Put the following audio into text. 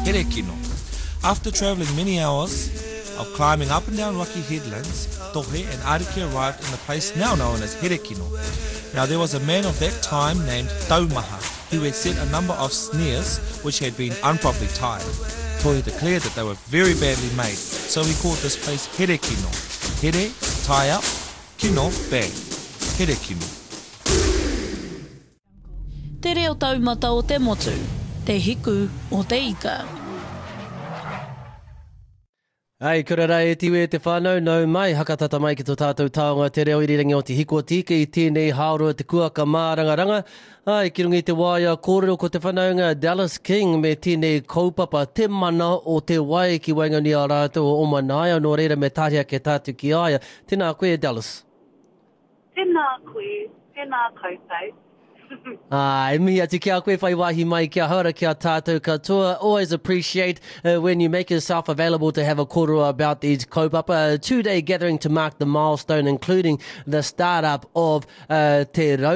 Herekino. After travelling many hours of climbing up and down rocky headlands, Tohe and Ariki arrived in the place now known as Herekino. Now there was a man of that time named Taumaha, who had set a number of snares which had been improperly tied. Tohe declared that they were very badly made, so he called this place Herekino. Here, tie up, kino, bad. Herekino. Te reo taumata o te motu, te hiku o te ika. Ai, kia ora rā e te iwi e te whānau, nau mai, hakatata mai ki tō tātou taonga te reo irirangi o Te Hiku o Te Ika i tēnei hāora o te kuaka mārangaranga. Ai, ki runga i te waea kōrero ko te whanaunga Dallas King me tēnei kaupapa Te Mana o te Wai ki waenganui a rātou o Omanaia, nō reira me tāria ake tātou ki a ia. Tēnā koe e Dallas. Tēnā koe, tēnā koutou. Ā, e mihi atu ki a koe whai wāhi mai ki ahau ara ki a tātou katoa. Always appreciate uh, when you make yourself available to have a kōrero about these kaupapa. A two-day gathering to mark the milestone, including the start-up of uh, Te Raupa.